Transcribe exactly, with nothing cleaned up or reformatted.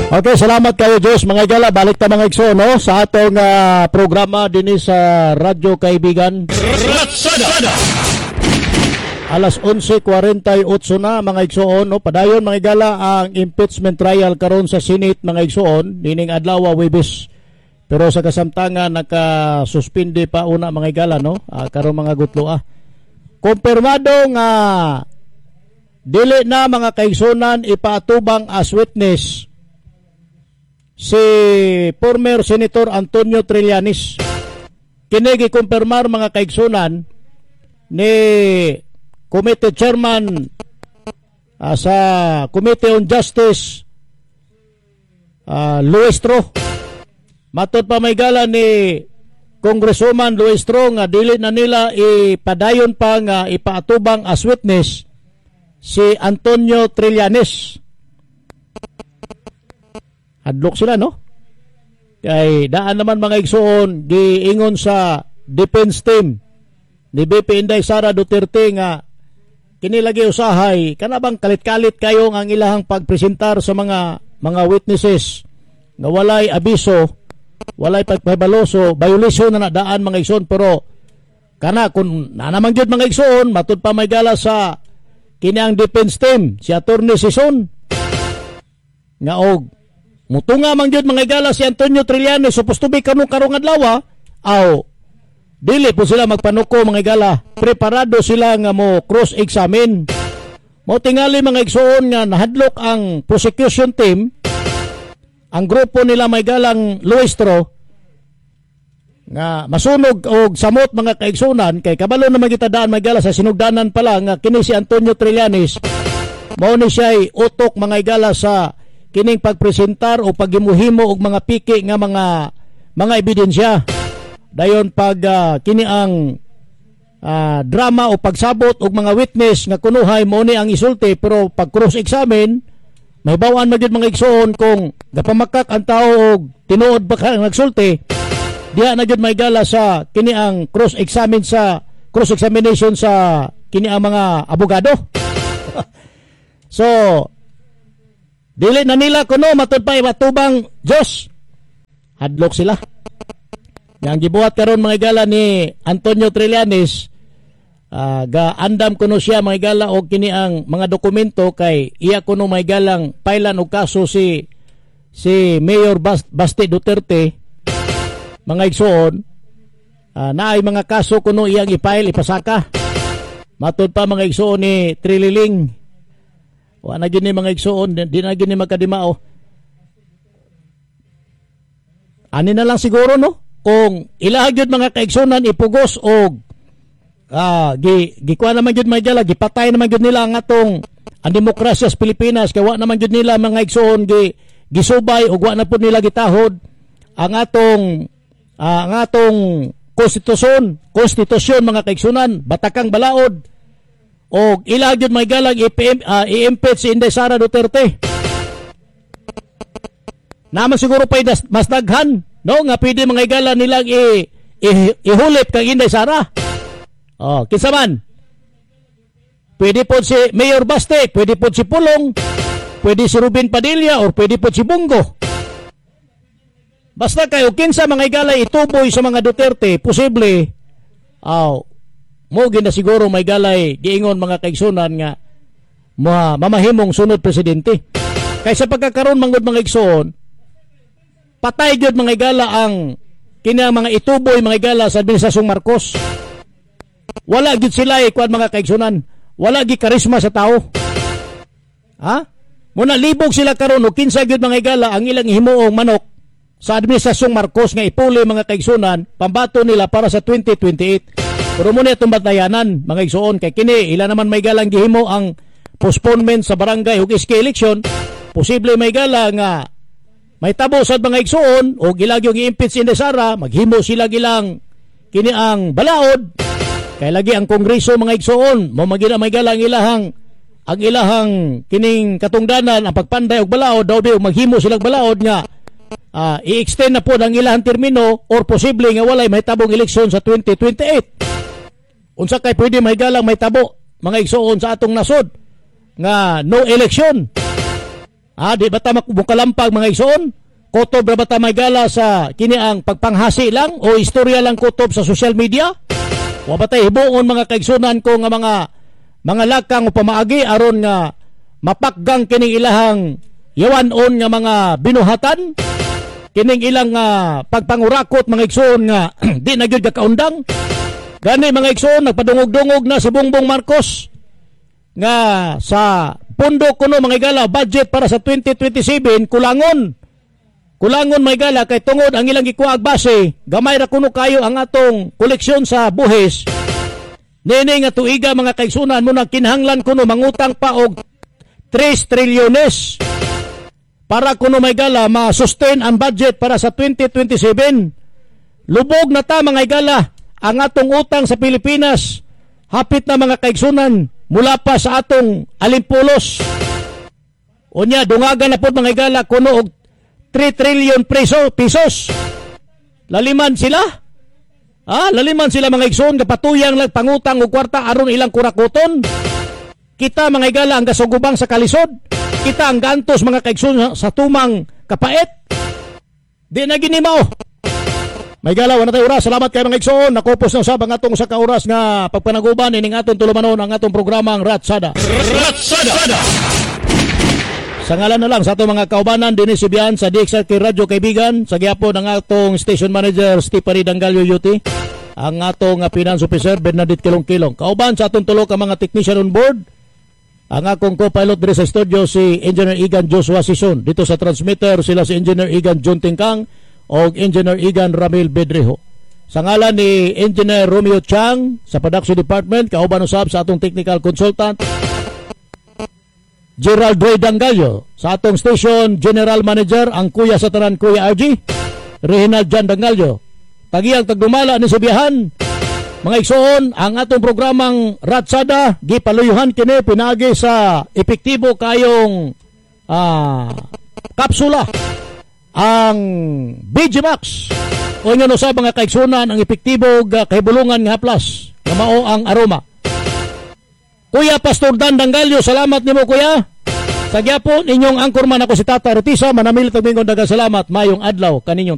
Okay, salamat kayo Diyos. Mga igala, balik ta, mga igsoon, no, sa atong ah, programa dinhi sa Radyo Kaibigan. Ratsada. Alas onse kuwarenta y otso na, mga igsoon, no. Padayon, mga igala, ang impeachment trial karon sa Senate, mga igsoon, nining adlaw, Webes. Pero sa kasamtangan naka-suspende pa una, mga igala, no. Ah, karon mga gutlo ah. Kumpirmado nga dili na, mga kaigsunan, ipaatubang as witness si former Senator Antonio Trillanes. Kini gikumpirmar, mga kaigsunan, ni Committee Chairman ah, sa Committee on Justice, uh, Luistro. Matod pa may gala ni Congresswoman Luistro nga dili na nila ipadayon pa nga ipaatubang as witness si Antonio Trillanes. Hadlok sila, no? Kay daan naman, mga igsoon, giingon sa defense team ni V P Inday Sara Duterte nga kini lagi usahay kana bang kalit-kalit kayo ang ilahang pagpresentar sa mga mga witnesses nga walay abiso, walay pagpahibalo, so violation na na daan, mga igsoon. Pero kana kung na naman gyud, mga igsoon, matud pa may gala sa kini ang defense team, si Attorney Sison, nga og mutunga man gyud, mga igala, si Antonio Trillanes supposed to be kanong karong adlaw, aw dili po sila magpanuko, mga igala. Preparado sila nga mo cross examine. Mo tingali, mga igsoon, nga nahadlok ang prosecution team, ang grupo nila may galang Luistro, nga masunog og samot, mga kaigsunan, kay kabalo naman kita daan may gala sa sinugdanan pa lang nga kini si Antonio Trillanes mao ni siya'y utok, mga igala, sa kining pagpresentar o paghimuhimo og mga piki nga mga mga ebidensya. Dayon pag ah, kini ang ah, drama o pagsabot og mga witness nga kunuhay mo ni ang isulti, pero pag cross examine mahibaw-an man gyud, mga igsoon, kung gapamakak ang tao og tinuod ba ka nagsulti. Diha na gyud may gala sa kini ang cross examine sa cross examination sa kini ang mga abogado. So dili na nila kuno matud pa ibatubang Diyos. Hadlok sila. Yang gibuhat karon, mga igala, ni Antonio Trillanes, ah, ga andam kuno siya, mga igala, og kini ang mga dokumento kay iya kuno may galang pailan og kaso si si Mayor Bas, Basti Duterte, mga igsoon. uh, naay mga kaso kuno iyang i-file, ipasaka. Matod pa, mga igsoon, ni Trililing. Wa na gyud ni, mga igsoon, di, di na gyud ni magkadimao. Ani na lang siguro, no, kung ilaha gyud, mga kaigsunan, ipugos og ah gi gikuha naman gyud may gala, gipatay naman gyud nila ang atong ang demokrasya sa Pilipinas, kay wa naman gyud nila, mga igsoon, gi gisubay ug wa na pud nila gitahod ang atong ah, ang atong konstitusyon konstitusyon mga kaigsunan, batakang balaod, og ila gyud may galang i-P M, ah, i-impeach si Inday Sara Duterte. Naman siguro pa mas daghan, no, nga pwede, mga igala, nilang i, i, ihulip kang Inday Sara. Oh, kinsa man? Pwede po si Mayor Baste, pwede po si Pulong, pwede si Ruben Padilla, or pwede po si Bong Go. Basta kayo kinsa, mga igala, ituboy sa mga Duterte, posible aw mo gina siguro may galay giingon, mga kaigsunan, nga ma mamahimong sunod presidente. Kaysa pagkakaroon manggod, mga igsoon, patay gyud, mga igala, ang kini ang mga ituboy, mga igala, sa administrasyong Marcos. Wala gyud sila eh, kuan, mga kaigsunan. Wala gyud karisma sa tao. Ha? Muna libog sila karon og kinsa gyud, mga igala, ang ilang himuong manok sa administrasyong Marcos nga ipuli, mga kaigsunan, pambato nila para sa twenty twenty-eight. Pero muna itong batayanan, mga igsoon, kay kini ila naman may galang gihimo ang postponement sa barangay ug S K election, posible may gala nga may tabo sa mga igsoon o ilag yung i-impeach si Inday Sara, maghimo sila gilang kini ang balaod. Kay lagi ang kongreso, mga igsoon, mo magina may gala ang ilahang ang ilahang kining katungdanan ang pagpanday og balaod daw di maghimo silang balaod nga ah, i-extend na po ang ilahang termino or posible nga walay mahitabong eleksyon sa twenty twenty-eight. Unsa kay pwede may galang may tabo, mga igsoon, sa atong nasod nga no election? Ah, di ba ta mukalampag, mga igsoon? Kutob ra ba ta may gala sa kini ang pagpanghasi lang o istorya lang kutob sa social media? Wa ba tay hibuon, mga kaigsunan ko, nga mga mga lakang o pamaagi aron nga mapakgang kining ilahang yawan-on nga mga binuhatan? Kining ilang uh, pagpangurakot, mga igsoon, nga di na gyud kaundang. Gani, mga igsoon, nagpadungog-dungog na si Bongbong Marcos nga sa pondo kuno, mga igala, budget para sa twenty twenty-seven, kulangon. Kulangon, mga igala, kay tungod ang ilang gikuha base, gamay ra kuno kayo ang atong koleksyon sa buhis. Nini nga tuiga, mga kaigsunan mo, kinahanglan kuno mangutang pa og three trilyones para kuno may gala ma-sustain ang budget para sa twenty twenty-seven. Lubog na ta, mga igala, ang atong utang sa Pilipinas. Hapit na, mga kaigsunan, mula pa sa atong alimpulos. Unya, dungagan na po, mga igala, kuno og three trillion peso, pesos. Laliman sila. Ah, laliman sila, mga igsoon, kapatuyang lang pangutang og kwarta aron ilang kurakuton. Kita, mga igala, ang gasugubang sa kalisod. Kita ang gantos, mga kaigsoon, sa tumang kapait. Di na ginimao. May galaw na tayo oras. Salamat kay mga igsoon. Nakupos na usab ang atong sa ka oras nga pagpanaguban ining atong tulumanon, ang atong programang Ratsada. Ratsada. Sa ngalan na lang sa atong mga kaubanan dinhi Sibian sa D X R K Radyo Kaibigan, sa gyapon ang atong station manager Stephanie Dangalio Yuti, ang atong uh, finance officer Bernadette Kilong-Kilong. Kauban sa atong tulo ka mga technician on board, ang akong co-pilot diri sa studio si Engineer Igan Joshua Sison. Dito sa transmitter sila si Engineer Igan John Tingkang o Engineer Igan Ramil Bedrejo. Sa ngalan ni Engineer Romeo Chang sa production department, kauban usab sa atong technical consultant Gerald Ray Dangallo, sa atong station general manager, ang kuya sa tanan, Kuya R G, Reginald Jan Dangallo. Tagiyang tagdumala ni Subiahan. Mga igsoon, ang atong programang Ratsada, gipaluyuhan kini pinagi sa epektibo kayong ah, kapsula, ang B G Max. O nga sa mga kaigsunan, ang epektibo ga kahibulungan nga haplas nga mao ang aroma. Kuya Pastor Dan Dangalyo, salamat nimo, kuya. Sa gyapon inyong anchorman, ako si Tata Rotisa, manamilit og mingon daghang salamat, mayong adlaw kaninyong tanan.